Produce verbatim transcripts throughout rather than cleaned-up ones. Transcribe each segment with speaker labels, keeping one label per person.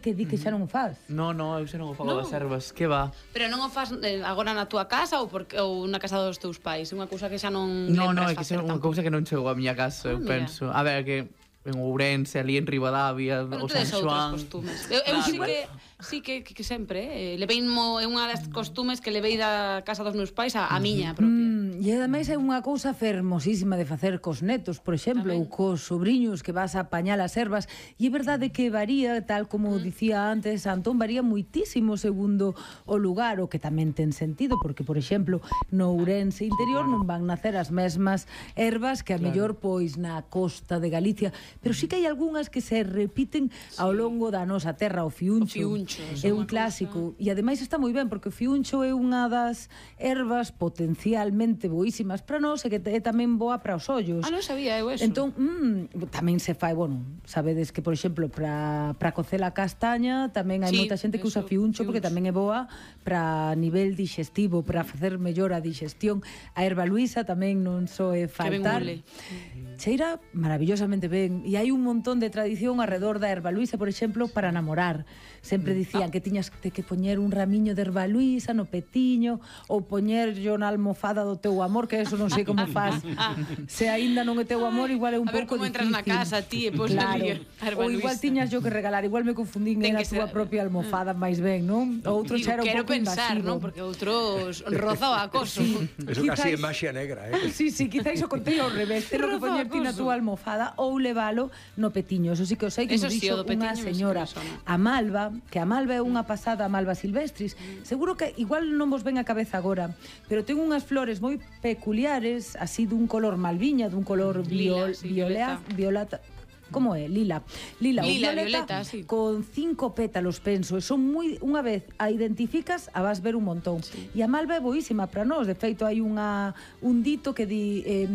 Speaker 1: que di que xa non o faz.
Speaker 2: No, no, eu xa non o fago das ervas, que va.
Speaker 3: Pero non o faz eh, agora na túa casa ou porque ou na casa dos teus pais? É unha cousa que xa non
Speaker 2: No, no,
Speaker 3: lembras
Speaker 2: é que
Speaker 3: facer
Speaker 2: é unha
Speaker 3: tampouco.
Speaker 2: cousa que non chegou a miña casa, eu
Speaker 3: mira.
Speaker 2: penso. A ver, que en Ourense, ali en Ribadavia,
Speaker 3: Pero
Speaker 2: o
Speaker 3: non tedes
Speaker 2: San
Speaker 3: outros
Speaker 2: Xoán.
Speaker 3: costumes. Eu, eu
Speaker 2: Claro.
Speaker 3: sí que sí que, que, que sempre, eh, levei mo, é unha das costumes que levei da casa dos meus pais a, a miña propia.
Speaker 1: Mm, e ademais é unha cousa fermosísima de facer cos netos, por exemplo,
Speaker 3: Tamén.
Speaker 1: ou cos sobrinhos que vas a apañar as ervas, e é verdade que varía, tal como mm. dicía antes Antón, varía moitísimo segundo o lugar, o que tamén ten sentido, porque, por exemplo, no Ourense interior non van nacer as mesmas ervas que a claro. mellor pois na costa de Galicia, pero sí que hai algunhas que se repiten ao longo da nosa terra, o fiuncho.
Speaker 3: O fiuncho
Speaker 1: é un clásico, e ademais está moi ben porque o fiuncho é unha das ervas potencialmente boísimas para nós e que é tamén boa para os ollos.
Speaker 3: Ah, non sabía eu eso.
Speaker 1: Entón, mm, tamén se fai, bueno, sabedes que, por exemplo, para para cocer a castaña tamén hai
Speaker 3: Sí,
Speaker 1: moita xente que usa
Speaker 3: eso,
Speaker 1: fiuncho, porque
Speaker 3: fiuncho.
Speaker 1: tamén é boa para nivel digestivo, para facer mellor a digestión. A erva luisa tamén non soe faltar.
Speaker 3: ule.
Speaker 1: Cheira maravillosamente ben, e hai un montón de tradición alrededor da erva luisa, por exemplo, para namorar. Sempre dicían que tiñas que poñer un ramiño de erva luisa no petiño ou poñerlo na almofada do teu amor, que eso non sei como faz. Se aínda non é teu amor, igual é un
Speaker 3: A ver
Speaker 1: pouco
Speaker 3: como
Speaker 1: difícil.
Speaker 3: entras na casa, ti, e pos
Speaker 1: Claro.
Speaker 3: ali a erva
Speaker 1: Ou igual
Speaker 3: luisa.
Speaker 1: tiñas yo que regalar, igual me confundín,
Speaker 3: Ten
Speaker 1: era a
Speaker 3: que
Speaker 1: túa
Speaker 3: ser-
Speaker 1: propia almofada máis ben, non? O outro
Speaker 3: Digo,
Speaker 1: xa era un
Speaker 3: quero
Speaker 1: pouco
Speaker 3: pensar,
Speaker 1: invasivo.
Speaker 3: non? Porque outros roza o acoso.
Speaker 4: Eso casi é
Speaker 1: Quizás-
Speaker 4: maxia negra, eh?
Speaker 1: Sí, sí, quizáis o contei ao revés. Telo que
Speaker 3: Rafa,
Speaker 1: poñer ti na
Speaker 3: acoso.
Speaker 1: túa almofada ou levalo no petiño. Eso sí que o sei que
Speaker 3: Eso
Speaker 1: me
Speaker 3: sí,
Speaker 1: dixo
Speaker 3: o do
Speaker 1: unha
Speaker 3: petiño
Speaker 1: señora,
Speaker 3: sí que me sona.
Speaker 1: a Malva, que a Malva é unha pasada, a Malva silvestris. Seguro que igual non vos ven a cabeza agora, pero ten unhas flores moi peculiares, así dun color malviña, dun color
Speaker 3: Lila,
Speaker 1: viol,
Speaker 3: sí,
Speaker 1: violeta, violeta. Como é? Lila. Lila, ou
Speaker 3: Lila,
Speaker 1: violeta,
Speaker 3: violeta, sí.
Speaker 1: con cinco pétalos, penso. E son moi, unha vez a identificas, a vas ver un montón. Sí. E a malva é boísima para nós. De feito, hai unha, un dito que di... Eh,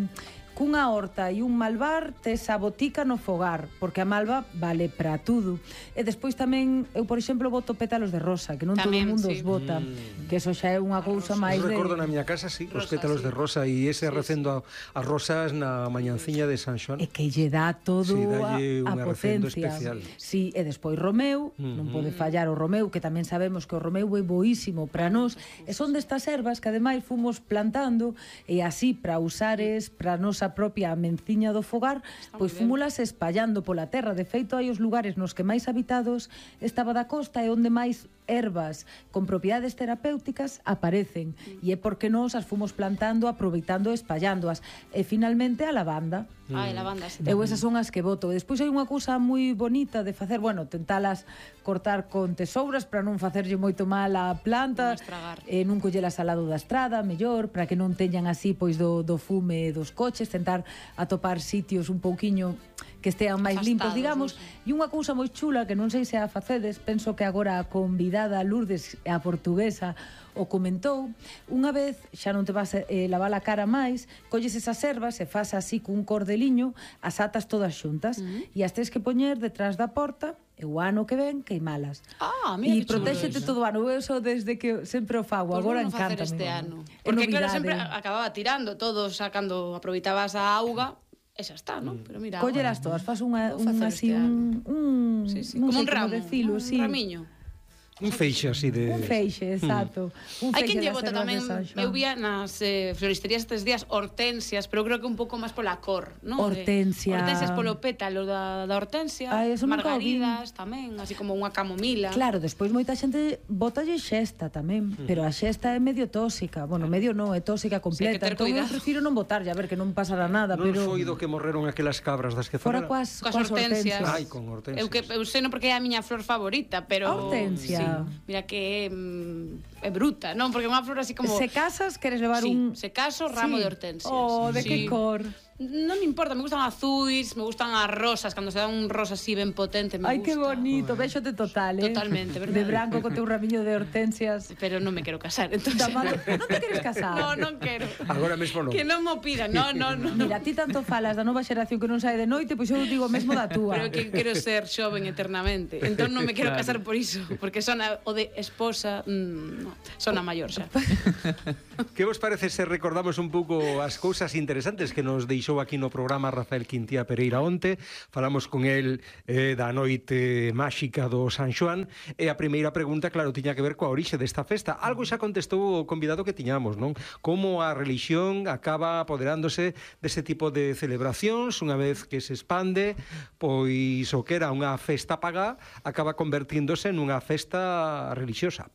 Speaker 1: cunha horta e un malvar tes a botica no fogar, porque a malva vale para tudo. E despois tamén, eu, por exemplo, boto pétalos de rosa, que non
Speaker 3: Tamén,
Speaker 1: todo o mundo
Speaker 3: sí.
Speaker 1: os bota, mm. que eso xa é unha cousa máis
Speaker 4: Eu
Speaker 1: de...
Speaker 4: recordo na miña casa, sí, os
Speaker 3: Rosa,
Speaker 4: pétalos
Speaker 3: sí.
Speaker 4: de rosa e ese
Speaker 3: Sí,
Speaker 4: recendo a- as rosas na mañanciña de San Xoán.
Speaker 1: E que lle dá todo
Speaker 4: Sí,
Speaker 1: a,
Speaker 4: dalle
Speaker 1: a
Speaker 4: un arrecendo
Speaker 1: potencia.
Speaker 4: especial.
Speaker 1: Sí, e despois Romeu,
Speaker 4: Uh-huh.
Speaker 1: non pode fallar o Romeu, que tamén sabemos que o Romeu é boísimo para nós, e son destas ervas que ademais fomos plantando, e así para usares para a nosa propia menciña do fogar, pois fúmulas espallando pola terra. De feito, hai os lugares nos que máis habitados estaba da costa e onde máis ervas con propiedades terapéuticas aparecen, e é porque nós as fomos plantando, aproveitando e espallándoas. E finalmente a lavanda.
Speaker 3: Ai, lavanda, sí.
Speaker 1: Eu esas son as que voto. E despois hai unha cousa moi bonita de facer, bueno, tentalas cortar con tesouras para non facerlle moito mal á planta,
Speaker 3: Non estragar.
Speaker 1: e non collelas al lado da estrada, mellor, para que non teñan así pois do, do fume dos coches, tentar atopar sitios un pouquiño que estean máis
Speaker 3: Afastados,
Speaker 1: limpos, digamos.
Speaker 3: non
Speaker 1: E unha cousa moi chula que non sei se a facedes, penso que agora a convidada Lourdes, a portuguesa, o comentou. Unha vez, xa non te vas a eh, lavar a cara máis, colles esas ervas e fas así cun cordeliño, as atas todas xuntas, uh-huh. e as tens que poñer detrás da porta, e o ano que ven queimalas.
Speaker 3: Ah, mira
Speaker 1: e
Speaker 3: que chulo
Speaker 1: protéxete
Speaker 3: eso.
Speaker 1: todo o ano. Eu eso desde que sempre o fago,
Speaker 3: Pois
Speaker 1: agora
Speaker 3: vou non facer
Speaker 1: encanta
Speaker 3: este ano.
Speaker 1: É
Speaker 3: Porque claro,
Speaker 1: novidade.
Speaker 3: sempre acababa tirando todo, sacando, aproveitabas a auga, e xa está, non? Pero mira,
Speaker 1: Colleras todas, fas unha,
Speaker 3: Vou
Speaker 1: un
Speaker 3: facer
Speaker 1: así
Speaker 3: este
Speaker 1: un, un
Speaker 3: sí, sí.
Speaker 1: non
Speaker 3: Como
Speaker 1: sei
Speaker 3: un ramo,
Speaker 1: decilo,
Speaker 3: un
Speaker 1: sí.
Speaker 3: ramiño.
Speaker 4: Un feixe así de...
Speaker 1: Un feixe, exacto. Un
Speaker 3: Hai
Speaker 1: feixe
Speaker 3: quen lle
Speaker 1: das
Speaker 3: bota
Speaker 1: ervas
Speaker 3: tamén,
Speaker 1: de San Xoán.
Speaker 3: eu vía nas eh, floristerías estes días hortensias, pero creo que un pouco máis pola cor, non?
Speaker 1: Hortensia.
Speaker 3: De, hortensias polo pétalo da, da hortensia,
Speaker 1: Ai, eso nunca o vi.
Speaker 3: margaridas tamén, así como unha camomila.
Speaker 1: Claro, despois moita xente botalle xesta tamén, pero a xesta é medio tóxica. Bueno, medio non, é tóxica completa.
Speaker 3: ter
Speaker 1: Entón eu
Speaker 3: cuidado.
Speaker 1: prefiro non botarlle, a ver, que non pasará nada,
Speaker 4: Non
Speaker 1: pero...
Speaker 4: foi do que morreron aquelas cabras das que
Speaker 1: Fora
Speaker 4: fora?
Speaker 1: coas,
Speaker 3: Coas hortensias.
Speaker 4: Ai, con hortensias.
Speaker 3: Eu que eu sei non porque é a miña flor favorita, pero
Speaker 1: A hortensia.
Speaker 3: Sí, mira que é, mm, é bruta, non? Porque é unha flor así como
Speaker 1: Se casas, queres levar
Speaker 3: sí,
Speaker 1: un...
Speaker 3: se caso ramo
Speaker 1: Sí.
Speaker 3: de hortensias.
Speaker 1: Oh, de
Speaker 3: Sí.
Speaker 1: que cor?
Speaker 3: Non me importa, me gustan azuis, me gustan as rosas, cando se dá un rosa así ben potente, me
Speaker 1: Ai,
Speaker 3: gusta.
Speaker 1: que bonito, véxote total, eh?
Speaker 3: Totalmente, verdade.
Speaker 1: De branco con teu ramiño de hortensias.
Speaker 3: Pero non me quero casar, entonces.
Speaker 1: Da mano... Non te queres casar?
Speaker 3: No, non quero.
Speaker 4: Agora mesmo non.
Speaker 3: Que non mo pidan, no, no, no.
Speaker 1: Mira, ti tanto falas da nova xeración que non sae de noite, pois eu digo mesmo da túa.
Speaker 3: Pero que quero ser xoven eternamente. Entón non me quero
Speaker 2: Claro.
Speaker 3: casar por iso, porque sona o de esposa, mmm, no, sona maior xa.
Speaker 4: Que vos parece se recordamos un pouco as cousas interesantes que nos deixou deixou aquí no programa Rafael Quintía Pereira onte. Falamos con el eh, da noite máxica do San Xoán, e a primeira pregunta, claro, tiña que ver coa orixe desta festa. Algo xa contestou o convidado que tiñamos, non? Como a religión acaba apoderándose dese tipo de celebracións, unha vez que se expande, pois o que era unha festa pagá acaba convertíndose nunha festa religiosa.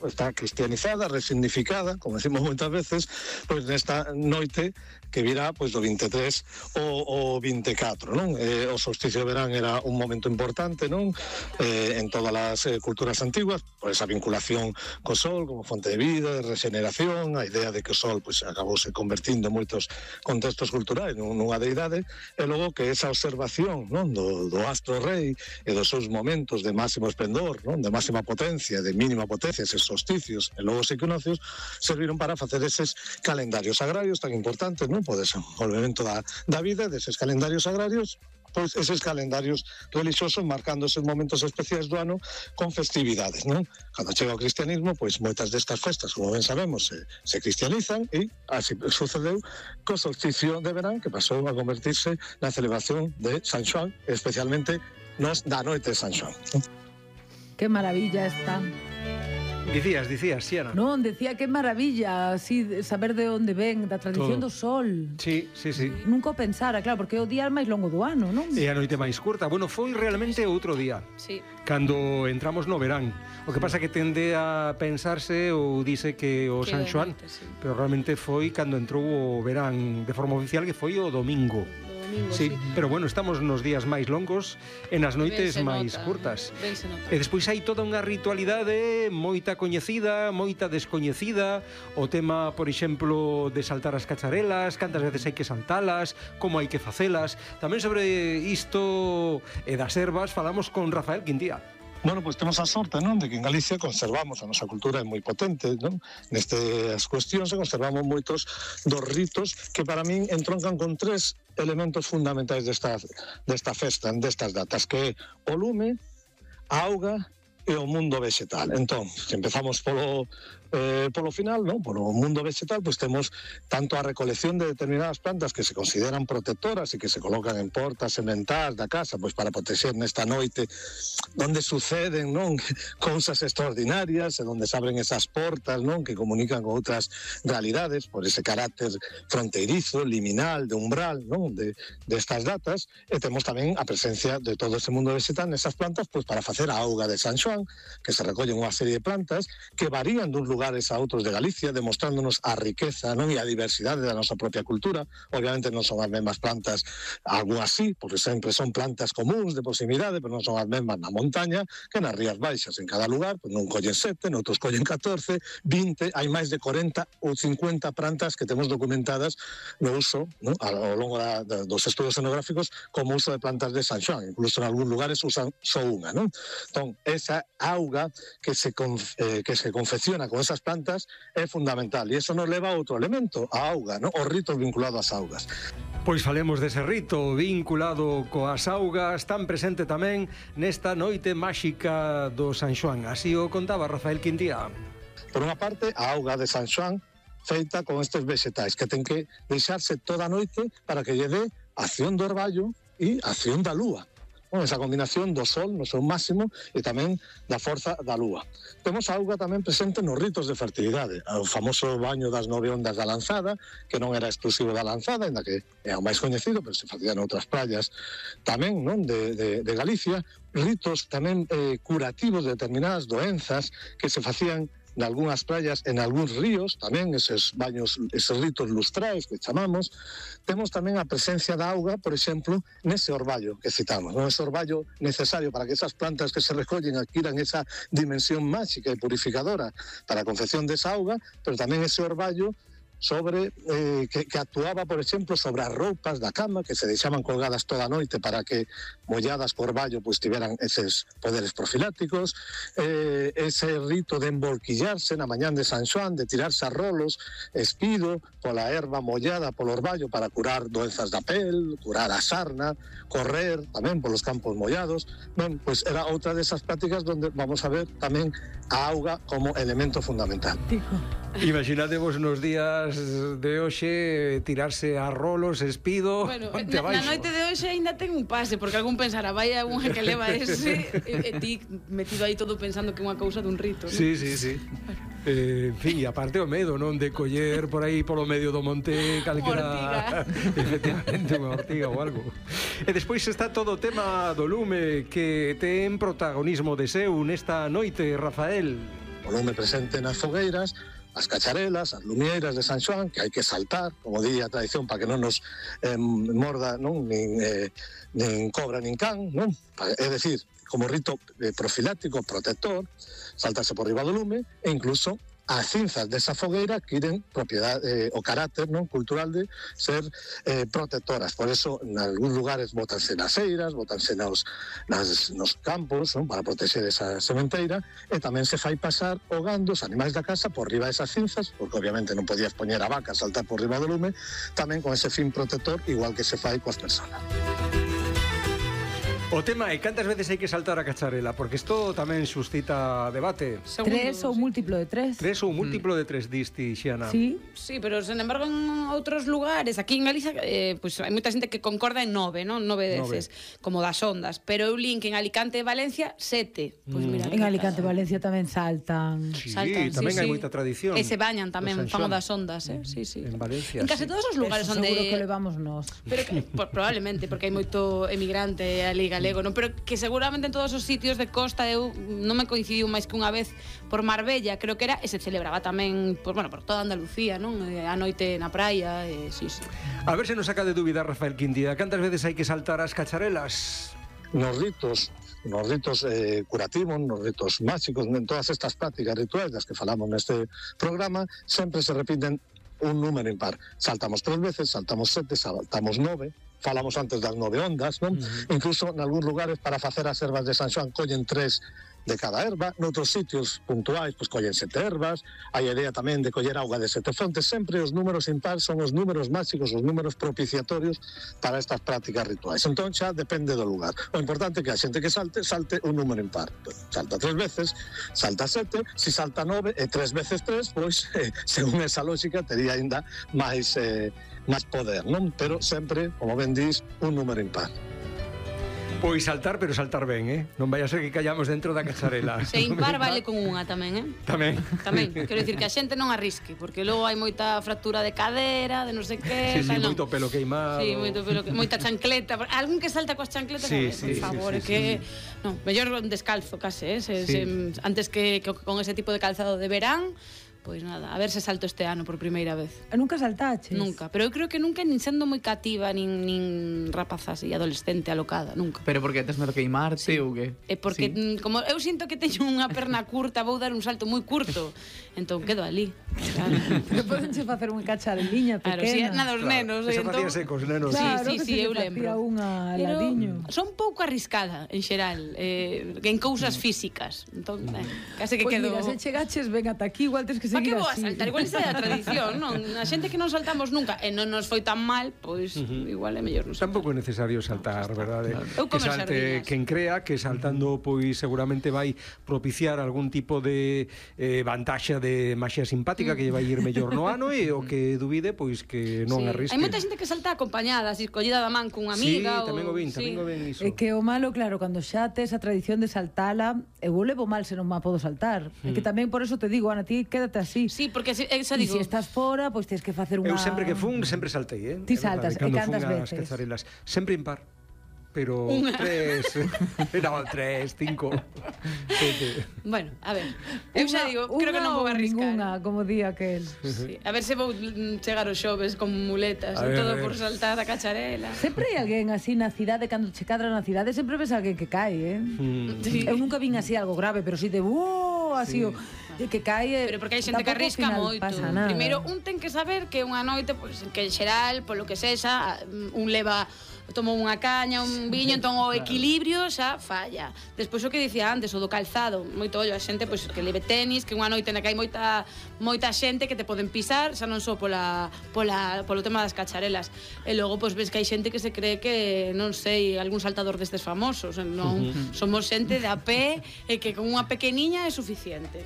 Speaker 5: Está cristianizada, resignificada, como decimos moitas veces, pois nesta noite que virá pois do vinte e tres o, o vinte e catro, non? Eh, o solsticio de verán era un momento importante, non? Eh, en todas as eh, culturas antiguas, por esa vinculación co sol como fonte de vida, de regeneración, a idea de que o sol pois acabouse convertindo en moitos contextos culturais nunha deidade, e logo que esa observación, non, do, do astro rei e dos seus momentos de máximo esplendor, non, de máxima potencia, de mínima potencia, eses solsticios e logo os equinoccios serviron para facer eses calendarios agrarios tan importantes, non? Por desenvolvemento da, da vida, deses calendarios agrarios, pois eses calendarios religiosos marcando eses momentos especiais do ano con festividades, non? Cando chega o cristianismo, pois moitas destas festas, como ben sabemos, se, se cristianizan, e así sucedeu co solsticio de verán, que pasou a convertirse na celebración de San Xoán, especialmente nos da noite de San Xoán, non?
Speaker 1: Que maravilla está.
Speaker 4: Dicías, dicías, Siena.
Speaker 1: Non, decía que maravilla, así, saber de onde ven, da tradición
Speaker 4: Todo.
Speaker 1: do sol.
Speaker 4: Sí, sí, sí.
Speaker 1: Nunca o pensara, claro, porque é o día máis longo do ano, non?
Speaker 4: E a noite máis curta. Bueno, foi realmente outro día.
Speaker 3: Sí.
Speaker 4: Cando entramos no verán. O que pasa que tende a pensarse ou dice que o
Speaker 3: Que
Speaker 4: San
Speaker 3: de
Speaker 4: Xoán,
Speaker 3: noite, sí.
Speaker 4: pero realmente foi cando entrou o verán de forma oficial, que foi o domingo.
Speaker 3: O domingo,
Speaker 4: Sí,
Speaker 3: sí.
Speaker 4: pero bueno, estamos nos días máis longos e nas noites
Speaker 3: Ben se
Speaker 4: máis
Speaker 3: nota,
Speaker 4: curtas.
Speaker 3: ben se nota.
Speaker 4: E despois hai toda unha ritualidade moita coñecida, moita descoñecida, o tema, por exemplo, de saltar as cacharelas, cantas veces hai que saltalas, como hai que facelas. Tamén sobre isto e das ervas falamos con Rafael Quintía.
Speaker 5: Bueno, pois temos a sorte, non, de que en Galicia conservamos a nosa cultura, é moi potente, non? Nestas cuestións se conservamos moitos dos ritos que para min entroncan con tres elementos fundamentais desta, desta festa, destas datas, que é o lume, a auga e o mundo vegetal. Entón, se empezamos polo, eh, polo final, non? Polo mundo vegetal, pois temos tanto a recolección de determinadas plantas que se consideran protectoras e que se colocan en portas sementás da casa, pois para protexer nesta noite onde suceden, non, cousas extraordinarias e onde se abren esas portas, non, que comunican con outras realidades por ese carácter fronteirizo, liminal, de umbral, non, de destas datas. E temos tamén a presencia de todo ese mundo vegetal nesas plantas, pois para facer a auga de San Xoán, que se recollen unha serie de plantas que varían duns lugares a outros de Galicia, demostrándonos a riqueza, non, e a diversidade da nosa propia cultura. Obviamente non son as mesmas plantas, algunhas sí, porque sempre son plantas comuns de proximidade, pero non son as mesmas na montaña que nas rías baixas. En cada lugar, pois non collen sete, noutros collen catorce, vinte, hai máis de corenta ou cincuenta plantas que temos documentadas no uso, non, ao longo da, da, dos estudos etnográficos como uso de plantas de San Xoán. Incluso en algúns lugares usan só unha, non? Entón, esa auga que se, conf, eh, que se confecciona con esas plantas é fundamental, e eso nos leva a outro elemento, a auga, non? Os ritos vinculados ás augas.
Speaker 4: Pois falemos dese rito vinculado coas augas, tan presente tamén nesta noite máxica do San Xoán. Así o contaba Rafael Quintía.
Speaker 5: Por unha parte, a auga de San Xoán feita con estes vegetais que ten que deixarse toda a noite para que lle dé acción do orballo e acción da lúa. Bueno, esa combinación do sol no seu máximo e tamén da forza da lúa. Temos a auga tamén presente nos ritos de fertilidade, o famoso baño das nove ondas da lanzada, que non era exclusivo da lanzada, ainda que é o máis coñecido, pero se facía noutras praias tamén, non, de, de, de Galicia, ritos tamén eh, curativos de determinadas doenzas que se facían en algunhas praias, en algúns ríos, tamén eses baños, eses ritos lustrais que chamamos. Temos tamén a presencia da auga, por exemplo, nese orballo que citamos, non? Ese orballo necesario para que esas plantas que se recollen adquiran esa dimensión máxica e purificadora para a confección desa auga, pero tamén ese orballo sobre eh, que, que actuaba, por exemplo, sobre as roupas da cama que se deixaban colgadas toda a noite para que molladas co orballo pois tiveran eses poderes profilácticos, eh, ese rito de embolquillarse na mañán de San Xoán, de tirarse a rolos, espido, pola erva mollada polo orballo para curar doenzas da pel, curar a sarna, correr tamén polos campos mollados. Ben, pois era outra desas prácticas onde vamos a ver tamén a auga como elemento fundamental.
Speaker 4: Imaginadevos nos días de hoxe tirarse a rolos, espido,
Speaker 3: Bueno,
Speaker 4: onte
Speaker 3: na, na
Speaker 4: abaixo.
Speaker 3: noite de hoxe ainda ten un pase, porque algún pensará, vaya unha que leva ese, e, e ti metido aí todo pensando que é unha cousa dun rito, non?
Speaker 4: Sí, sí, sí. Eh, en fin, e aparte o medo, non? De coller por aí polo medio do monte calquera... Efectivamente, unha ortiga ou algo. E despois está todo o tema do lume que ten protagonismo de seu nesta noite, Rafael.
Speaker 5: O lume presente nas fogueiras, as cacharelas, as lumieiras de San Xoán, que hai que saltar, como di a tradición, para que non nos eh, morda non nin, eh, nin cobra nin can, non? É dicir, como rito eh, profiláctico, protector, saltarse por riba do lume e incluso as cinzas desa fogueira que tienen propiedade, eh, o carácter non cultural de ser eh, protectoras. Por eso, en algúns lugares botanse nas eiras, botanse nos, nas, nos campos, non? Para protexer esa sementeira, e tamén se fai pasar o gando, os animais da casa, por riba desas cinzas, porque obviamente non podías poñer a vaca a saltar por riba do lume, tamén con ese fin protector, igual que se fai coas personas.
Speaker 4: O tema é cantas veces hai que saltar a cacharela, porque isto tamén suscita debate.
Speaker 3: Segundo,
Speaker 1: Tres ou
Speaker 3: sí.
Speaker 1: múltiplo de tres.
Speaker 4: Tres ou múltiplo de tres, diste, Xiana.
Speaker 1: Sí.
Speaker 3: Sí, pero sen embargo en outros lugares, aquí en Galicia, eh, pues, hai moita xente que concorda en nove, non? Nove veces, como das ondas. Pero eu link en Alicante e Valencia, sete. Pois mira,
Speaker 1: En Alicante e Valencia tamén saltan.
Speaker 4: Sí,
Speaker 3: saltan,
Speaker 4: tamén
Speaker 3: sí,
Speaker 4: hai
Speaker 3: sí.
Speaker 4: moita tradición.
Speaker 3: E se bañan tamén,
Speaker 4: Do San
Speaker 3: fan o
Speaker 4: Xoán.
Speaker 3: das ondas, eh? Sí, sí.
Speaker 4: En Valencia,
Speaker 3: En casi
Speaker 4: sí.
Speaker 3: todos os lugares
Speaker 1: Eso
Speaker 3: onde...
Speaker 1: seguro que levamos nós.
Speaker 3: Pero que, por, probablemente, porque hai moito emigrante ali galego, non? Pero que seguramente en todos os sitios de costa eu non me coincidiu máis que unha vez por Marbella, creo que era, e se celebraba tamén por, bueno, por toda Andalucía, non? E a noite na praia, e sí, sí.
Speaker 4: A ver se nos saca de dúbida, Rafael Quintía, cantas veces hai que saltar as cacharelas?
Speaker 5: Nos ritos, nos ritos eh, curativos, nos ritos máxicos, en todas estas prácticas rituais das que falamos neste programa, sempre se repiten un número impar. Saltamos tres veces, saltamos sete, saltamos nove, falamos antes das nove ondas, non? Uh-huh. Incluso en algúns lugares para facer as ervas de San Xoán collen tres de cada erva, noutros sitios puntuais pois collen sete ervas, hai a idea tamén de coller auga de sete fontes, sempre os números impar son os números máxicos, os números propiciatorios para estas prácticas rituais. Entón xa depende do lugar. O importante é que a xente que salte, salte un número impar. Salta tres veces, salta sete, se salta nove e tres veces tres, pois, eh, según esa lógica, tería ainda máis, eh, máis poder, non? Pero sempre, como ben dis, un número impar.
Speaker 4: Pois saltar, pero saltar ben, eh? Non vai a ser que callamos dentro da cacharela.
Speaker 3: Se impar vale con unha tamén, eh?
Speaker 4: Tamén.
Speaker 3: Tamén, quero dicir que a xente non arrisque, porque logo hai moita fractura de cadera, de non sei que,
Speaker 4: Sí, sí,
Speaker 3: tal, non.
Speaker 4: moito pelo queimado.
Speaker 3: Sí, moito pelo que, moita chancleta, algún que salta coas chancletas,
Speaker 4: Sí,
Speaker 3: a ver,
Speaker 4: sí,
Speaker 3: por
Speaker 4: sí,
Speaker 3: favor,
Speaker 4: sí,
Speaker 3: é que non, mellor descalzo case, eh, se,
Speaker 4: Sí.
Speaker 3: se, antes que, que con ese tipo de calzado de verán. Pois nada, a ver se salto este ano por primeira vez.
Speaker 1: Nunca saltaches?
Speaker 3: Nunca, pero eu creo que nunca nin sendo moi cativa, nin, nin rapaza así, adolescente, alocada, nunca.
Speaker 2: Pero porque tes medo queimarte sí. ou que?
Speaker 3: É porque,
Speaker 2: Sí.
Speaker 3: mm, como eu sinto que teño unha perna curta, vou dar un salto moi curto, entón quedo ali. Claro,
Speaker 1: Pero podenche facer unha cachareliña
Speaker 3: claro
Speaker 1: pequena.
Speaker 3: si, nada dos nenos.
Speaker 4: Eso
Speaker 3: entón...
Speaker 4: facíase cos nenos.
Speaker 1: Claro,
Speaker 3: Sí, sí,
Speaker 1: que
Speaker 3: sí,
Speaker 1: se
Speaker 3: eu
Speaker 1: lle facía
Speaker 3: lembro.
Speaker 1: unha
Speaker 3: Pero
Speaker 1: ladiño.
Speaker 3: son pouco arriscada, en xeral, eh, en cousas físicas. Entón, eh, case que
Speaker 1: Pois
Speaker 3: quedo...
Speaker 1: mira, se chegaches ben ata aquí, igual tens que
Speaker 3: Pa que
Speaker 1: seguir
Speaker 3: vou a
Speaker 1: así.
Speaker 3: saltar? Igual esa é a tradición, non? A xente que non saltamos nunca e non nos foi tan mal, pois uh-huh. igual é mellor non saltar.
Speaker 4: Tampouco é necesario saltar, verdade?
Speaker 3: Eu
Speaker 4: Que
Speaker 3: comer
Speaker 4: salte
Speaker 3: sardiñas.
Speaker 4: quen crea que saltando pois seguramente vai propiciar algún tipo de eh, vantaxa de maxia simpática que lle vai ir mellor no ano e o que duvide pois que non
Speaker 3: Sí.
Speaker 4: arrisque.
Speaker 3: Hai moita xente que salta acompañada, así collida da man cunha
Speaker 4: Sí,
Speaker 3: amiga.
Speaker 4: tamén o
Speaker 3: ou...
Speaker 4: vin, tamén o vin iso.
Speaker 1: É que o malo, claro, cando xa tes a tradición de saltala, eu o levo mal se non ma podo saltar. É que tamén por eso te digo, Ana, ti quédate así.
Speaker 3: Sí, porque se, esa
Speaker 1: E
Speaker 3: digo...
Speaker 1: se estás fora, pois tens que facer unha...
Speaker 4: Eu sempre que fun, sempre saltei, eh?
Speaker 1: Ti
Speaker 4: É verdade,
Speaker 1: saltas, e
Speaker 4: cando
Speaker 1: cantas
Speaker 4: fun ás
Speaker 1: veces?
Speaker 4: cazarelas. Sempre impar. Pero
Speaker 3: Unha.
Speaker 4: tres, no, tres, cinco, sete.
Speaker 3: Bueno, a ver, eu xa
Speaker 1: Unha-
Speaker 3: digo, creo que non vou
Speaker 1: unha ou
Speaker 3: arriscar.
Speaker 1: Ninguna, como di aquel.
Speaker 3: Sí. A ver se vou mm, chegar os xoves con muletas
Speaker 4: A
Speaker 3: e
Speaker 4: ver,
Speaker 3: todo
Speaker 4: a ver.
Speaker 3: por saltar a cacharela.
Speaker 1: Sempre hai alguén así na cidade, cando che cadra na cidade, sempre ves alguén que cae, eh?
Speaker 4: Mm.
Speaker 3: Sí.
Speaker 1: Eu nunca vin así algo grave, pero si de ¡oh! Así, o, de que cae...
Speaker 3: Pero porque hai xente que
Speaker 1: tampouco ao
Speaker 3: arrisca
Speaker 1: final
Speaker 3: moito.
Speaker 1: pasa nada.
Speaker 3: Primeiro, un ten que saber que unha noite, pois, que en xeral, polo que sexa, un leva tomou unha caña, un viño, entón o equilibrio xa falla. Despois o que dicía antes, o do calzado, moito ollo a xente pois que leve tenis, que unha noite na que hai moita moita xente que te poden pisar, xa non só pola pola polo tema das cacharelas. E logo pois ves que hai xente que se cree que non sei, algún saltador destes famosos, non somos xente de a pé e que con unha pequeniña é suficiente.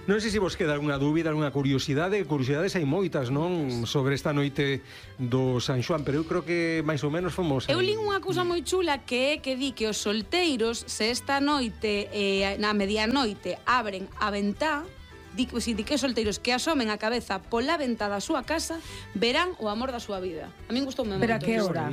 Speaker 4: Non sei se vos queda algunha dúbida, algunha curiosidade. Curiosidades hai moitas, non? Sobre esta noite do San Xoán, pero eu creo que máis ou menos fomos...
Speaker 3: Eu lín unha cousa moi chula que é que di que os solteiros, se esta noite, eh, na medianoite, abren a ventá, di, si, di que os solteiros que asomen a cabeza pola ventá da súa casa verán o amor da súa vida. A min gustoume moito.
Speaker 1: Pero a que
Speaker 3: iso.
Speaker 1: hora?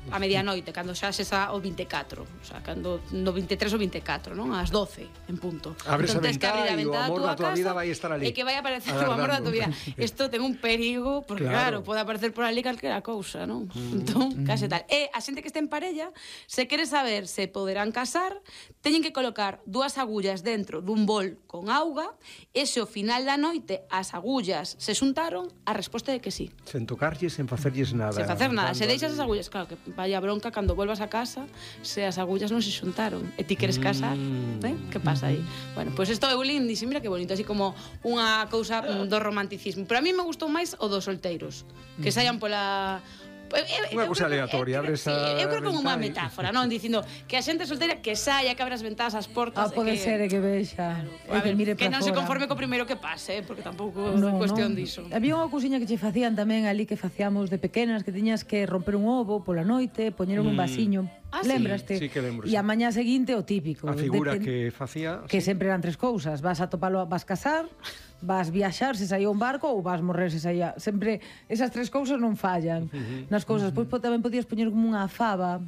Speaker 3: A medianoite, cando xa sesa o vinte e catro, o sea, cando no vinte e tres ou vinte e catro, non? Ás doce, en punto.
Speaker 4: Abres
Speaker 3: entón,
Speaker 4: a ventá
Speaker 3: a
Speaker 4: e o amor da tua vida vai estar ali.
Speaker 3: E que vai aparecer o amor da tua vida. Isto ten un perigo, porque claro, claro pode aparecer por ali calquera cousa, non? Mm. Entón, case tal. E a xente que este en parella, se quere saber se poderán casar, teñen que colocar dúas agullas dentro dun bol con auga, e se ao final da noite as agullas se xuntaron, a resposta é que sí.
Speaker 4: Sen tocarlles, sen facerlles nada.
Speaker 3: Sen facer nada. Se deixas as agullas, claro, que vaya bronca cando volvas a casa se as agullas non se xuntaron e ti queres casar, mm. eh? Que pasa aí? Bueno, pois pues isto é Eulín, dixe, mira que bonito, así como unha cousa do romanticismo. Pero a mí me gustou máis o dos solteiros, que saian pola...
Speaker 4: Unha cousa aleatoria, abres a...
Speaker 3: Eu creo que é unha metáfora, non? Dicindo que a xente solteira que saia, que abra as ventás, as portas...
Speaker 1: Ah, pode
Speaker 3: que...
Speaker 1: ser que vexa,
Speaker 3: claro,
Speaker 1: que mire
Speaker 3: que
Speaker 1: para
Speaker 3: non se
Speaker 1: fora.
Speaker 3: conforme co primeiro que pase, porque tampouco
Speaker 1: no,
Speaker 3: é cuestión
Speaker 1: no.
Speaker 3: diso.
Speaker 1: Había unha cousiña que che facían tamén ali que facíamos de pequenas, que tiñas que romper un ovo pola noite, poñer un
Speaker 4: Mm.
Speaker 1: vasiño.
Speaker 3: Ah, sí?
Speaker 1: Lembraste?
Speaker 4: Sí, que lembro,
Speaker 1: E
Speaker 4: sí.
Speaker 1: a mañá seguinte o típico.
Speaker 4: A figura
Speaker 1: Depen...
Speaker 4: que facía...
Speaker 1: Que
Speaker 4: sí.
Speaker 1: sempre eran tres cousas. Vas a topalo, vas casar, vas viaxar se saía un barco ou vas morrer se saía. Sempre esas tres cousas non fallan uh-huh. nas cousas. Pois uh-huh. tamén podías poñer como unha fava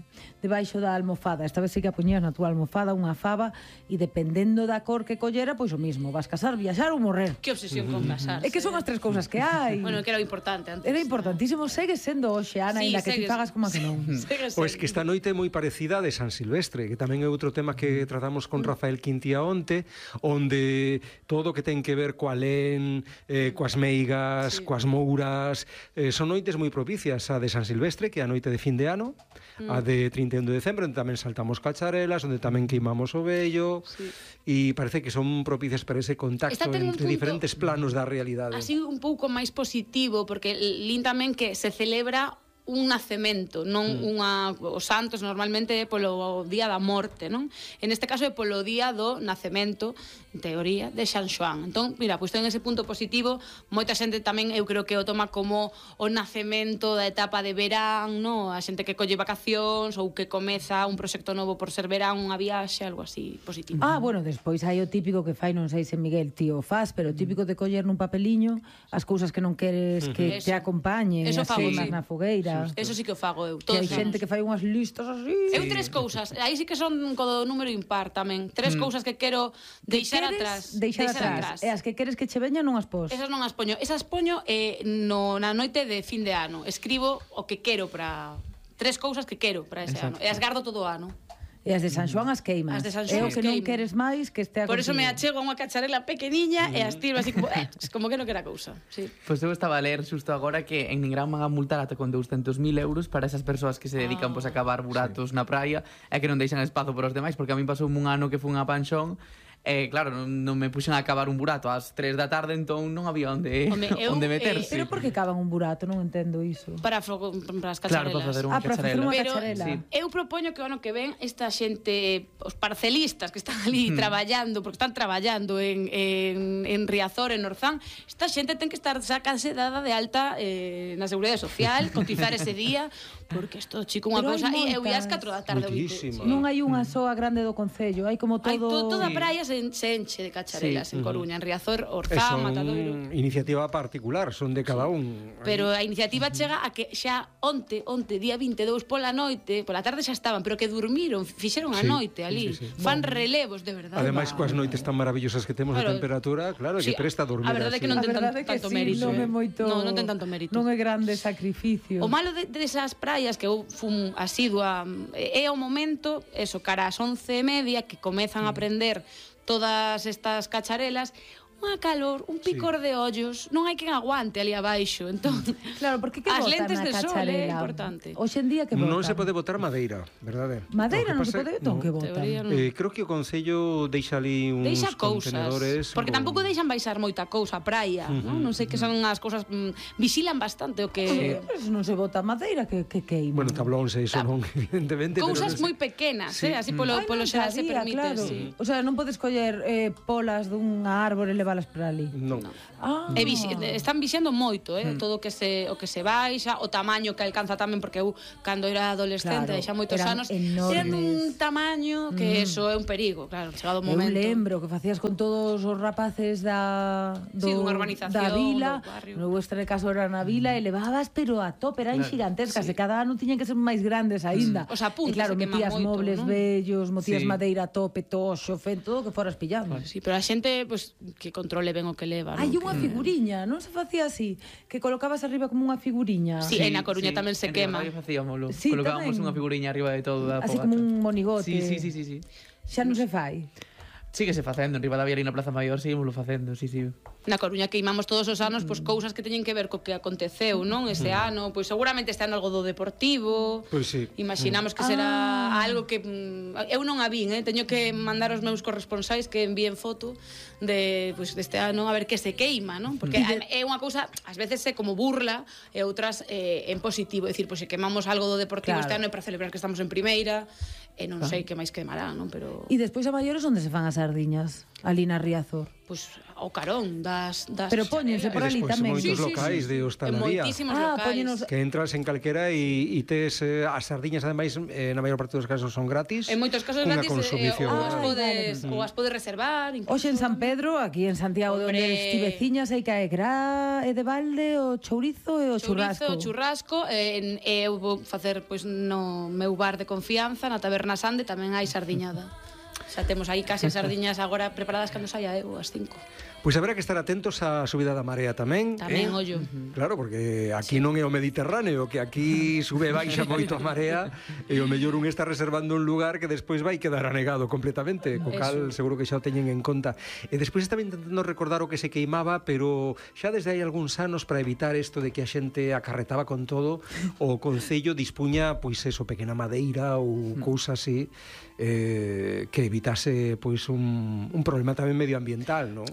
Speaker 1: debaixo da almofada. Esta vez sí que a poñías na túa almofada unha fava e dependendo da cor que collera, pois o mismo. Vas casar, viaxar ou morrer.
Speaker 3: Que obsesión uh-huh. con casarse.
Speaker 1: É que son as tres cousas que hai.
Speaker 3: Bueno, que era o importante antes.
Speaker 1: Era importantísimo. Segue sendo hoxe, Ana,
Speaker 3: Sí,
Speaker 1: ainda que ti
Speaker 3: segues-
Speaker 1: fagas como a que non.
Speaker 4: Pois que esta noite é moi parecida a de San Silvestre, que tamén é outro tema que tratamos con Rafael Quintía onte, onde todo o que ten que ver coa len, eh, coas meigas,
Speaker 3: Sí.
Speaker 4: coas mouras, eh, son noites moi propicias, a de San Silvestre, que é a noite de fin de ano,
Speaker 3: Mm.
Speaker 4: a de trinta e un de decembro, onde tamén saltamos cacharelas, onde tamén queimamos o vello,
Speaker 3: Sí.
Speaker 4: e parece que son propicias para ese contacto
Speaker 3: Esta ten un
Speaker 4: entre
Speaker 3: punto-
Speaker 4: diferentes planos da realidade.
Speaker 3: Así un pouco máis positivo, porque lin tamén que se celebra un nacemento, non mm. unha os santos normalmente é polo día da morte, non? En este caso é polo día do nacemento, en teoría, de San Xoán. Entón, mira, pois ten ese punto positivo, moita xente tamén eu creo que o toma como o nacemento da etapa de verán, no? A xente que colle vacacións ou que comeza un proxecto novo por ser verán, unha viaxe, algo así positivo.
Speaker 1: Ah, bueno, despois hai o típico que fai, non sei se Miguel tío faz, pero o típico de coller nun papeliño as cousas que non queres que
Speaker 3: Eso.
Speaker 1: te acompañen,
Speaker 3: Eso
Speaker 1: as
Speaker 3: fago,
Speaker 1: queimas
Speaker 3: sí.
Speaker 1: na fogueira.
Speaker 3: Eso sí que o fago eu.
Speaker 1: Que
Speaker 3: Todos
Speaker 1: hai
Speaker 3: os
Speaker 1: xente
Speaker 3: anos.
Speaker 1: que fai unhas listas así.
Speaker 3: Eu tres cousas, aí sí que son co do número impar tamén. Tres
Speaker 4: Mm.
Speaker 3: cousas que quero deixar
Speaker 1: Queres
Speaker 3: atrás.
Speaker 1: Deixar, atrás. E as que queres que che veñan non as pos.
Speaker 3: Esas non as poño. Esas poño eh, no, na noite de fin de ano. Escribo o que quero para... Tres cousas que quero para ese
Speaker 2: Exacto.
Speaker 3: ano. E as gardo todo o ano.
Speaker 1: E as de San Xoán as queimas.
Speaker 3: As de San
Speaker 1: É
Speaker 3: Xoán
Speaker 1: o que
Speaker 3: as
Speaker 1: non
Speaker 3: queimo.
Speaker 1: queres máis que estea
Speaker 3: Por eso me
Speaker 1: contigo.
Speaker 3: achego a unha cacharela pequeniña e as tiro así como, eh, como que non quera cousa. Sí.
Speaker 2: Pois eu estaba a ler xusto agora que en Nigrán van a multar ata con douscentos mil euros para esas persoas que se dedican
Speaker 3: Ah.
Speaker 2: pois, a cavar buratos na praia e que non deixan espazo para os demais, porque a mí pasou un ano que fui a Panxón e claro, non, non me puxen a cavar un burato ás tres da tarde, entón non había onde,
Speaker 3: Home, eu,
Speaker 2: onde
Speaker 3: eh,
Speaker 2: meterse.
Speaker 1: Pero por que cavan un burato? Non entendo iso.
Speaker 3: Para, fo- para as
Speaker 2: Claro,
Speaker 3: cacharelas.
Speaker 2: para facer unha
Speaker 1: Ah, para facer
Speaker 2: cacharela.
Speaker 1: unha
Speaker 3: Pero
Speaker 1: cacharela.
Speaker 2: Sí.
Speaker 3: eu propoño que o ano que ven esta xente, os parcelistas que están ali traballando, porque están traballando en, en, en Riazor, en Orzán, esta xente ten que estar sacase dada de alta eh, na Seguridade Social, cotizar ese día, porque isto, chico, unha
Speaker 1: Pero hai
Speaker 3: cousa, e eu ia ás
Speaker 1: moitas.
Speaker 3: catro da tarde.
Speaker 4: Moitísimas.
Speaker 1: Non hai unha soa grande do Concello, hai como todo...
Speaker 3: Hai to, toda a
Speaker 2: Sí.
Speaker 3: praia se, se enche de cacharelas
Speaker 2: Sí.
Speaker 3: en Coruña, en Riazor,
Speaker 4: E
Speaker 3: Orzán,
Speaker 4: son
Speaker 3: Matadoiro.
Speaker 4: iniciativa particular, son de cada un.
Speaker 3: Pero a iniciativa chega a que xa onte, onte, día vinte e dous pola noite, pola tarde xa estaban, pero que durmiron, fixeron a
Speaker 4: Sí,
Speaker 3: noite ali.
Speaker 4: sí, sí.
Speaker 3: Fan relevos, de verdade.
Speaker 4: Ademais, coas noites tan maravillosas que temos
Speaker 3: Claro.
Speaker 4: de temperatura, claro,
Speaker 3: Sí,
Speaker 4: que presta a dormir
Speaker 3: a verdade é
Speaker 4: así.
Speaker 3: que non
Speaker 1: A
Speaker 3: ten tan-
Speaker 1: verdade é que
Speaker 3: tanto
Speaker 1: sí,
Speaker 3: mérito,
Speaker 1: non
Speaker 3: eh.
Speaker 1: é moito...
Speaker 3: Non, non ten tanto mérito.
Speaker 1: Non é grande sacrificio.
Speaker 3: O malo de, de esas praias que eu fun asidua é o momento, eso, cara ás once e media, que comezan a prender todas estas cacharelas. unha calor, un picor de ollos, non hai quen aguante ali abaixo. Entón,
Speaker 1: Claro, porque que
Speaker 3: as
Speaker 1: botan
Speaker 3: lentes
Speaker 1: na
Speaker 3: de sol é
Speaker 1: cacharela?
Speaker 3: importante.
Speaker 1: Hoxe en día que botan?
Speaker 4: Non se pode botar madeira, verdade?
Speaker 1: Madeira
Speaker 4: O
Speaker 1: non
Speaker 4: que
Speaker 1: se
Speaker 4: pasa-
Speaker 1: pode, entón
Speaker 4: no.
Speaker 1: que botan?
Speaker 3: Teoría non.
Speaker 4: Eh, creo que o Concello deixa ali uns
Speaker 3: Deixa cousas,
Speaker 4: contenedores
Speaker 3: porque
Speaker 4: con-
Speaker 3: tampouco deixan baixar moita cousa a praia, non? Non sei que son as cousas, mm, vixilan bastante o que
Speaker 1: Pues non se bota madeira que, que queima.
Speaker 4: Bueno, tablóns e iso non, evidentemente.
Speaker 3: cousas
Speaker 4: pero non
Speaker 3: moi
Speaker 4: sei.
Speaker 3: pequenas,
Speaker 4: Sí.
Speaker 3: eh? Así polo
Speaker 1: Ai,
Speaker 3: polo
Speaker 1: non
Speaker 3: xeral se
Speaker 1: sabía,
Speaker 3: permite,
Speaker 1: claro.
Speaker 3: sí.
Speaker 1: O sea, non podes coller eh, polas dunha árbore e leválas para ali.
Speaker 4: Non.
Speaker 1: Ah.
Speaker 3: E vixi, están vixendo moito, eh,
Speaker 1: Hmm.
Speaker 3: todo o que se o que se baixa, o tamaño que alcanza tamén, porque eu cando era adolescente,
Speaker 1: Claro,
Speaker 3: xa moitos
Speaker 1: eran
Speaker 3: anos,
Speaker 1: enormes.
Speaker 3: eran dun tamaño que eso é un perigo, claro, chegado o
Speaker 1: Eu
Speaker 3: momento.
Speaker 1: lembro que facías con todos os rapaces da do,
Speaker 3: Sí, dunha urbanización,
Speaker 1: da vila,
Speaker 3: do barrio.
Speaker 1: no vuestra caso era na vila e levabas pero a tope, eran
Speaker 2: Claro.
Speaker 1: gigantescas, e cada ano tiñan que ser máis grandes aínda.
Speaker 3: Os apuntes
Speaker 1: e claro,
Speaker 3: se queman
Speaker 1: metías
Speaker 3: moito,
Speaker 1: mobles
Speaker 3: non?
Speaker 1: bellos, metías
Speaker 2: Sí.
Speaker 1: madeira a tope, toxo, fen, todo o que foras pillando.
Speaker 3: Sí, pero a xente pues que controle ben o que leva, non?
Speaker 1: Hai unha
Speaker 3: Que-
Speaker 1: figuriña, non se facía así, que colocabas arriba como unha figuriña.
Speaker 3: Sí, en A Coruña tamén se
Speaker 2: en
Speaker 3: quema.
Speaker 2: Ribadavia facíamolo.
Speaker 1: Sí,
Speaker 2: Colocábamos
Speaker 1: tamén.
Speaker 2: unha figuriña arriba de todo da
Speaker 1: Así
Speaker 2: fogata.
Speaker 1: como un monigote.
Speaker 2: Sí, sí, sí, sí, sí.
Speaker 1: Xa non se fai.
Speaker 2: Sigue se facendo, en Ribadavia e na Plaza Maior seguimoslo facendo, sí, sí.
Speaker 3: Na Coruña queimamos todos os anos pois cousas que teñen que ver co que aconteceu, non? Ese ano, pois seguramente este ano algo do deportivo.
Speaker 4: Pois sí.
Speaker 3: Imaginamos que será algo que mm, eu non a vin, eh, teño que mandar aos meus corresponsais que envíen foto de pois deste ano a ver que se queima, non? Porque a- é unha cousa, ás veces é como burla e outras eh, en positivo, é dicir, pois se quemamos algo do deportivo
Speaker 1: Claro.
Speaker 3: este ano é para celebrar que estamos en primeira, e non sei que máis quemará, non? Pero
Speaker 1: E despois a maiores onde se fan as sardiñas? Ali na Riazor.
Speaker 3: pois ao carón das das
Speaker 1: Pero póñense por
Speaker 4: E
Speaker 1: ali
Speaker 4: despois
Speaker 1: tamén.
Speaker 4: moitos
Speaker 3: Sí, sí,
Speaker 4: locais
Speaker 3: sí,
Speaker 4: de
Speaker 3: sí.
Speaker 4: hostalería.
Speaker 3: En moitísimos
Speaker 1: Ah,
Speaker 3: locais.
Speaker 1: póñenos-
Speaker 4: Que entras en calquera e, e tes eh, as sardiñas ademais eh, na maior parte dos casos son gratis.
Speaker 3: En moitos casos
Speaker 4: cunha
Speaker 3: gratis, eh,
Speaker 4: consumición.
Speaker 3: ou as
Speaker 1: Ai,
Speaker 3: podes,
Speaker 1: vale.
Speaker 3: ou as podes reservar. incluso.
Speaker 1: Hoxe en San Pedro, aquí en Santiago de onde
Speaker 3: Hombre.
Speaker 1: estiveciñas, hai que é gra e de balde, o chourizo e o
Speaker 3: Chourizo,
Speaker 1: churrasco.
Speaker 3: churrasco, e, en, e eu vou facer pois no meu bar de confianza, na Taberna Sande, tamén hai sardiñada. Xa temos aí case as sardiñas agora preparadas cando saia eu, as cinco.
Speaker 4: Pois haberá que estar atentos á subida da marea tamén.
Speaker 3: Tamén,
Speaker 4: eh?
Speaker 3: ollo.
Speaker 4: Claro, porque aquí non é o Mediterráneo, que aquí sube e baixa moito a marea, e o mellor un está reservando un lugar que despois vai quedar anegado completamente, co cal seguro que xa o teñen en conta. E despois estaba intentando recordar o que se queimaba, pero xa desde hai algúns anos para evitar isto de que a xente acarretaba con todo, o Concello dispuña, pois eso, pequena madeira ou cousa así, eh, que evitase pois un, un problema tamén medioambiental, non?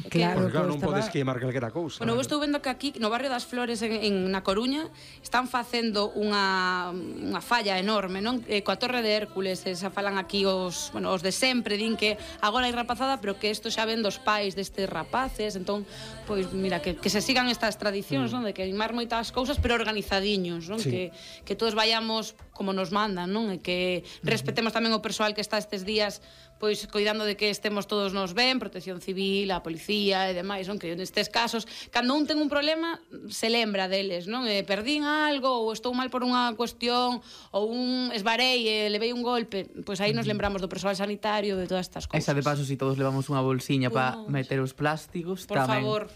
Speaker 1: Claro,
Speaker 4: Porque claro,
Speaker 1: que
Speaker 4: non
Speaker 1: estaba-
Speaker 4: podes queimar calquera cousa.
Speaker 3: Bueno, eu estou vendo que aquí, no barrio das Flores, en, en Na Coruña, están facendo unha, unha falla enorme, non? Eh, coa Torre de Hércules, eh, xa falan aquí os, bueno, os de sempre, din que agora hai rapazada, pero que isto xa ven dos pais destes rapaces, entón, pois, mira, que, que se sigan estas tradicións, non? De queimar moitas cousas, pero organizadiños, non?
Speaker 4: Sí.
Speaker 3: Que, que todos vayamos como nos mandan, non? E que respetemos tamén o persoal que está estes días pois coidando de que estemos todos nos ben, Protección Civil, a policía e demais, non? Que nestes casos, cando un ten un problema, se lembra deles, non? Eh, perdín algo, ou estou mal por unha cuestión, ou un esbarei e levei un golpe, pois aí nos lembramos do persoal sanitario, de todas estas cousas.
Speaker 2: Esa de paso, si todos levamos unha bolsiña para
Speaker 3: Bueno,
Speaker 2: meter os plásticos,
Speaker 3: Por
Speaker 2: tamén.
Speaker 3: favor.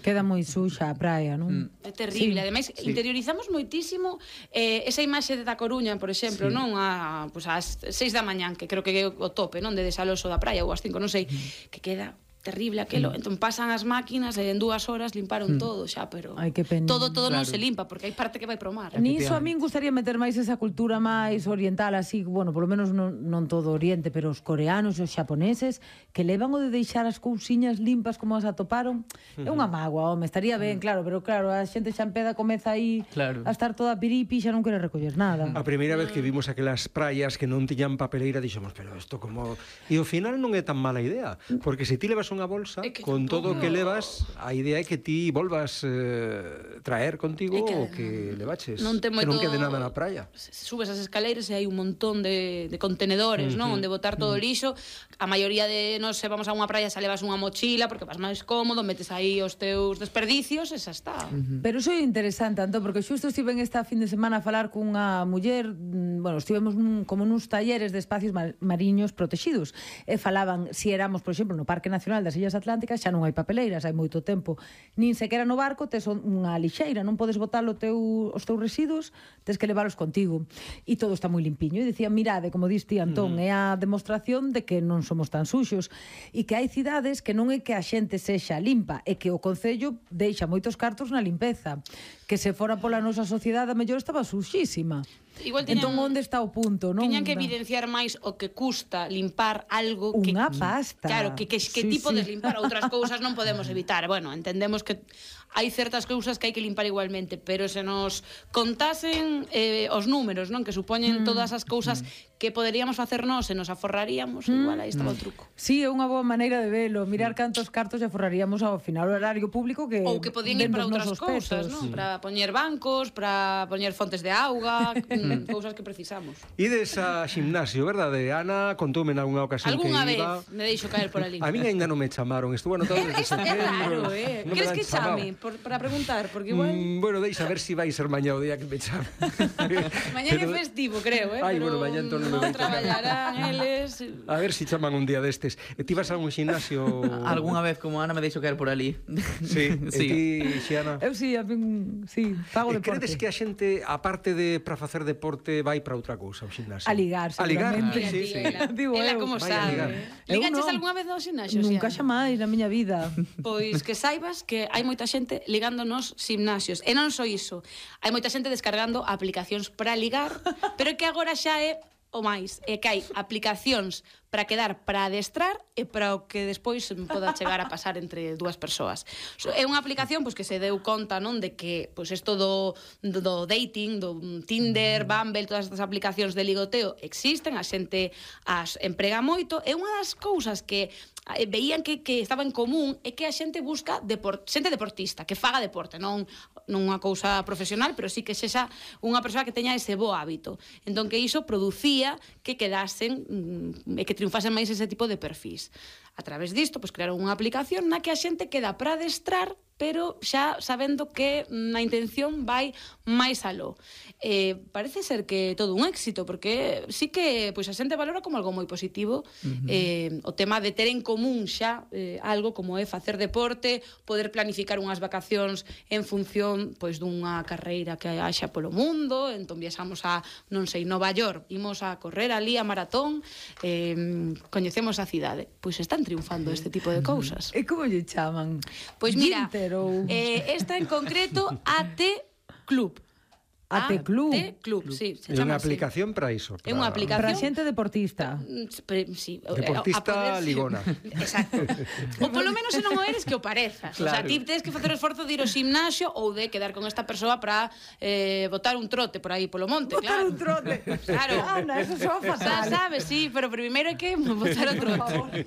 Speaker 1: Queda moi suxa a praia, non?
Speaker 3: É terrible.
Speaker 1: Sí.
Speaker 3: Ademais,
Speaker 2: Sí.
Speaker 3: interiorizamos moitísimo eh, esa imaxe de da Coruña, por exemplo, non? A, pues, ás seis da mañán, que creo que é o tope, non? De desaloso da praia, ou ás cinco, non sei, que queda terrible aquelo. Entón pasan as máquinas e en dúas horas limparon todo xa, pero
Speaker 1: Ai, que pena.
Speaker 3: todo todo non
Speaker 2: Claro.
Speaker 3: se limpa, porque hai parte que vai pro mar.
Speaker 1: Niso a min gustaría meter máis esa cultura máis oriental, así, bueno, polo menos non, non todo Oriente, pero os coreanos e os xaponeses que levan o de deixar as cousiñas limpas como as atoparon. É unha mágoa, home, estaría ben, claro, pero claro, a xente xa empeda comeza aí
Speaker 2: Claro.
Speaker 1: a estar toda piripi, xa non quere recoller nada.
Speaker 4: A primeira vez que vimos aquelas praias que non tiñan papeleira, dixemos, pero isto como... E ao final non é tan mala idea, porque se ti levas unha bolsa,
Speaker 3: É que
Speaker 4: con todo o que
Speaker 3: tampouco-
Speaker 4: levas, a idea é que ti volvas eh, traer contigo
Speaker 3: É que
Speaker 4: o que levaches,
Speaker 3: non ten
Speaker 4: que non
Speaker 3: moito-
Speaker 4: quede nada na praia.
Speaker 3: Subes as escaleiras e hai un montón de, de contenedores, non? Onde botar todo o lixo. A maioría de nós se vamos a unha praia xa levas unha mochila porque vas máis cómodo, metes aí os teus desperdicios e xa está.
Speaker 1: Pero iso é interesante, Antón, porque xusto estive esta fin de semana a falar cunha muller, mm, bueno, estivemos nun, como nuns talleres de espacios mar- mariños protegidos, e falaban, si éramos, por exemplo, no Parque Nacional Internacional das Illas Atlánticas xa non hai papeleiras, hai moito tempo. Nin sequera no barco tes unha lixeira, non podes botar o teu, os teus residuos, tes que leválos contigo. E todo está moi limpiño. E dicía, mirade, como diste Antón, uh -huh. é a demostración de que non somos tan suxos e que hai cidades que non é que a xente sexa limpa, é que o Concello deixa moitos cartos na limpeza, que se fora pola nosa sociedade a mellor estaba suxísima.
Speaker 3: Igual tiñan,
Speaker 1: entón, onde está o punto? Non?
Speaker 3: Tiñan que evidenciar máis o que custa limpar algo que...
Speaker 1: Unha pasta.
Speaker 3: Claro, que, que, que
Speaker 1: sí,
Speaker 3: tipo
Speaker 1: sí.
Speaker 3: de limpar outras cousas non podemos evitar. Bueno, entendemos que hai certas cousas que hai que limpar igualmente, pero se nos contasen eh, os números, non, que supoñen mm. todas as cousas mm. que poderíamos facer nós e nos aforraríamos, mm. igual aí estaba mm. o truco.
Speaker 1: Sí, é unha boa maneira de velo, mirar cantos cartos e aforraríamos ao final o horario público que
Speaker 3: ou que podían ir para outras cousas, non? Para poñer bancos, para poñer fontes de auga, cousas que precisamos.
Speaker 4: Ides a ximnasio, verdade? Ana contoume en algunha ocasión
Speaker 3: Alguna
Speaker 4: que
Speaker 3: vez
Speaker 4: iba...
Speaker 3: me deixo caer por ali.
Speaker 4: A mí ainda non me chamaron, estuvo anotado desde setembro.
Speaker 3: É raro, eh?
Speaker 4: Non
Speaker 3: Queres
Speaker 4: me
Speaker 3: que
Speaker 4: chamado.
Speaker 3: chame por, para preguntar? Porque igual...
Speaker 4: Mm, bueno, deixa ver si vai ser mañá o día que me chame.
Speaker 3: Mañá é festivo, creo, eh?
Speaker 4: Ai,
Speaker 3: pero
Speaker 4: bueno, mañá entón non me
Speaker 3: non
Speaker 4: vai tocar.
Speaker 3: traballarán eles...
Speaker 4: A ver si chaman un día destes. E ti vas a algún ximnasio...
Speaker 2: Alguna vez, como Ana, me deixo caer por ali.
Speaker 4: Sí,
Speaker 2: sí.
Speaker 4: E ti, Xiana?
Speaker 1: Eu sí, a min, sí, fago
Speaker 4: E
Speaker 1: deporte.
Speaker 4: credes que a xente, aparte de para facer deporte, vai para outra cousa, ao ximnasio?
Speaker 1: A ligar,
Speaker 4: A ligar,
Speaker 1: seguramente.
Speaker 3: Mira,
Speaker 4: sí,
Speaker 3: tía,
Speaker 4: sí.
Speaker 3: ela,
Speaker 1: Digo
Speaker 3: ela
Speaker 1: eu,
Speaker 3: como
Speaker 4: vai a ligar.
Speaker 3: sabe.
Speaker 1: Eu
Speaker 3: Ligaches
Speaker 1: non.
Speaker 3: algunha vez ao ximnasio?
Speaker 1: Nunca
Speaker 3: Xiana?
Speaker 1: xamais na miña vida.
Speaker 3: Pois que saibas que hai moita xente ligando nos gimnasios. E non só iso. Hai moita xente descargando aplicacións para ligar, pero que agora xa é o máis. É que hai aplicacións para quedar para adestrar e para o que despois poda chegar a pasar entre dúas persoas. So, é unha aplicación pois, que se deu conta non de que pois, isto do, do, do dating, do Tinder, Bumble, todas estas aplicacións de ligoteo existen, a xente as emprega moito, e unha das cousas que veían que, que estaba en común é que a xente busca deport, xente deportista, que faga deporte, non non unha cousa profesional, pero sí que sexa unha persoa que teña ese bo hábito. Entón que iso producía que quedasen e que triunfasen máis ese tipo de perfis. A través disto, pois crearon unha aplicación na que a xente queda para adestrar, pero xa sabendo que na intención vai máis aló. Eh, parece ser que todo un éxito, porque sí que pois, a xente valora como algo moi positivo uh-huh. eh, o tema de ter en común xa eh, algo como é facer deporte, poder planificar unhas vacacións en función pois dunha carreira que haxa polo mundo, entón viaxamos a, non sei, Nova York, imos a correr ali a maratón, eh, coñecemos a cidade. Pois están triunfando este tipo de cousas.
Speaker 1: E como lle chaman?
Speaker 3: Pois mira,
Speaker 1: Ginter ou...
Speaker 3: eh, esta en concreto A T Club.
Speaker 1: A T Club.
Speaker 3: A T Club, sí, se
Speaker 4: É
Speaker 3: chama
Speaker 4: unha
Speaker 3: así.
Speaker 4: aplicación para iso.
Speaker 3: É unha aplicación
Speaker 1: Para xente deportista.
Speaker 3: Pre- sí,
Speaker 4: Deportista
Speaker 3: a poder-
Speaker 4: ligona.
Speaker 3: Exacto. Ou polo menos se non o eres que o parezas.
Speaker 2: Claro.
Speaker 3: O sea, ti tens que facer o esforzo de ir ao gimnasio ou de quedar con esta persoa para eh, botar un trote por aí polo monte,
Speaker 1: Botar
Speaker 3: claro.
Speaker 1: un trote.
Speaker 3: Claro.
Speaker 1: Ana, eso soa
Speaker 3: Xa
Speaker 1: fatal.
Speaker 3: sabes, sí, pero primeiro hai que botar o trote.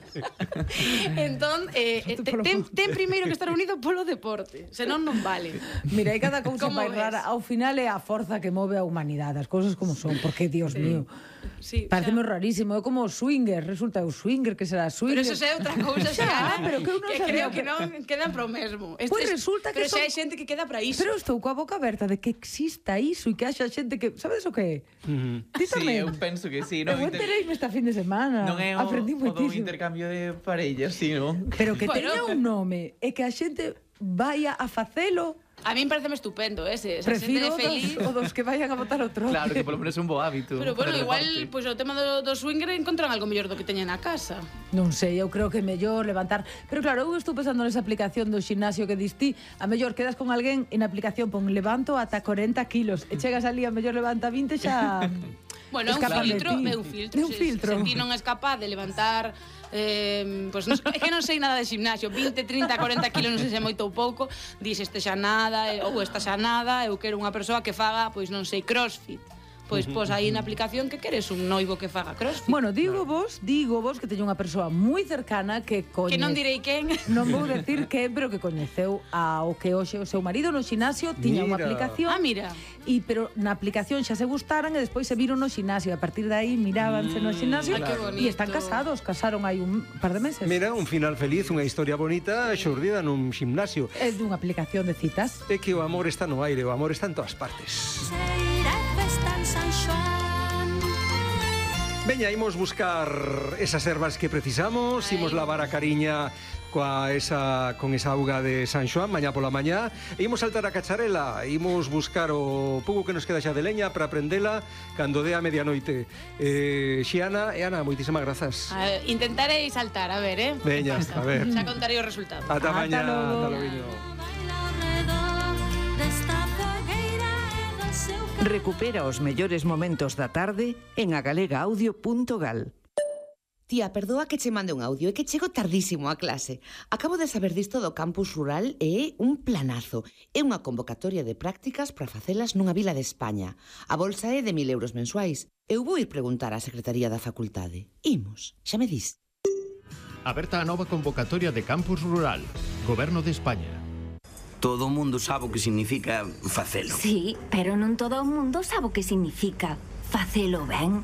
Speaker 3: Entón, eh, eh, te- ten, ten primeiro que estar unido polo deporte, senón non vale.
Speaker 1: Mira, hai cada cousa
Speaker 3: Como
Speaker 1: máis
Speaker 3: ves?
Speaker 1: rara. Ao final é a forza que move a humanidade, as cousas como son, porque, Dios mío,
Speaker 3: Sí,
Speaker 1: parece
Speaker 3: xa.
Speaker 1: moi rarísimo. É como o swinger, resulta o swinger, que será
Speaker 3: Pero
Speaker 1: swinger.
Speaker 3: eso é outra cousa,
Speaker 1: Xa,
Speaker 3: xa,
Speaker 1: pero que eu non
Speaker 3: que
Speaker 1: sabía
Speaker 3: creo
Speaker 1: que-
Speaker 3: que non quedan pro mesmo. Este
Speaker 1: Pois
Speaker 3: es-
Speaker 1: resulta que
Speaker 3: pero xa
Speaker 1: son-
Speaker 3: hai xente que queda para iso.
Speaker 1: Pero estou coa boca aberta de que exista iso e que haxa xente que... Sabes o que é? Ti
Speaker 2: Sí,
Speaker 1: tamén?
Speaker 2: eu penso que sí.
Speaker 1: Eu
Speaker 2: Non, inter...
Speaker 1: entereime esta fin de semana.
Speaker 2: non é o,
Speaker 1: Aprendí
Speaker 2: o do
Speaker 1: moitísimo.
Speaker 2: intercambio de parellas, sí, non?
Speaker 1: Pero que
Speaker 3: Bueno.
Speaker 1: teña un nome e que a xente vaya a facelo,
Speaker 3: A min pareceme estupendo ese, esa xente
Speaker 1: prefiro
Speaker 3: de feliz.
Speaker 1: dos, o dos que vayan a botar o trote.
Speaker 2: Claro, que polo menos é un bo hábito.
Speaker 3: Pero bueno,
Speaker 2: para o
Speaker 3: igual,
Speaker 2: deporte.
Speaker 3: pois pues, o tema do, do swinger encontran algo mellor do que teñen na casa.
Speaker 1: Non sei, eu creo que é mellor levantar. Pero claro, eu estou pensando nesa aplicación do ximnasio que distí. A mellor quedas con alguén e na aplicación pon levanto ata corenta kilos e chegas ali a mellor levanta vinte xa...
Speaker 3: Bueno, é un
Speaker 1: escapan de
Speaker 3: filtro,
Speaker 1: ti.
Speaker 3: é un filtro.
Speaker 1: É un
Speaker 3: Se-
Speaker 1: filtro.
Speaker 3: Se, se ti non és capaz de levantar eh, pues non, é que non sei nada de gimnasio, vinte, trinta, corenta kilos, non sei se é moito ou pouco, dis este xa nada, eh, ou esta xa nada, eu quero unha persoa que faga, pois non sei, crossfit. Pois pos aí na aplicación que queres un noivo que faga crossfit.
Speaker 1: Bueno, digo vos, digo vos que teño unha persoa moi cercana que coñece...
Speaker 3: Que non direi quen.
Speaker 1: Non vou decir que, pero que coñeceu ao que hoxe o seu marido no xinasio tiña unha
Speaker 4: Mira.
Speaker 1: aplicación.
Speaker 3: Ah, mira.
Speaker 1: E pero na aplicación xa se gustaran e despois se viron no xinasio e a partir de aí mirábanse no xinasio
Speaker 3: Ai, que
Speaker 1: e están
Speaker 3: bonito.
Speaker 1: casados, casaron hai un par de meses.
Speaker 4: Mira, un final feliz, unha historia bonita xurdida nun ximnasio.
Speaker 1: É dunha aplicación de citas.
Speaker 4: É que o amor está no aire, o amor está en todas partes.
Speaker 6: Cheira festa en San Xoán.
Speaker 4: Veña, imos buscar esas ervas que precisamos, imos lavar a cariña coa esa, con esa auga de San Xoán mañá pola mañá, e imos saltar a cacharela, imos buscar o pouco que nos queda xa de leña para prendela cando dé a medianoite. eh, Xiana e Ana, moitísimas grazas.
Speaker 3: A ver, intentarei saltar, a ver, eh?
Speaker 4: Veña, a ver.
Speaker 3: Xa contarei o resultado.
Speaker 4: Ata mañá,
Speaker 1: logo.
Speaker 4: ata logo.
Speaker 6: Recupera os mellores momentos da tarde en agalegaaudio punto gal.
Speaker 7: Tía, perdoa que che mande un audio, é que chego tardísimo a clase. Acabo de saber disto do campus rural e é un planazo. É unha convocatoria de prácticas para facelas nunha vila de España. A bolsa é de mil euros mensuais. Eu vou ir preguntar á Secretaría da Facultade. Imos, xa me dis.
Speaker 8: Aberta a nova convocatoria de campus rural. Goberno de España.
Speaker 9: Todo o mundo sabe o que significa facelo.
Speaker 10: Sí, pero non todo o mundo sabe o que significa facelo ben.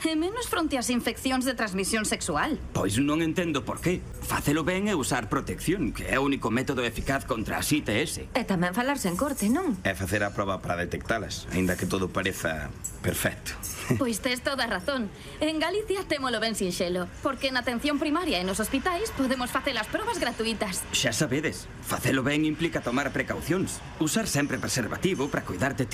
Speaker 10: E menos fronte ás infeccións de transmisión sexual.
Speaker 9: Pois non entendo por qué. Facelo ben é usar protección, que é o único método eficaz contra as I T S.
Speaker 10: E tamén falarse en corte, non?
Speaker 9: É facer a proba para detectalas, aínda que todo pareza perfecto.
Speaker 10: Pois tes toda a razón. En Galicia témolo ben sinxelo, porque na atención primaria e nos hospitais podemos facer as probas gratuitas.
Speaker 9: Xa sabedes, facelo ben implica tomar precaucións. Usar sempre preservativo para cuidar de ti.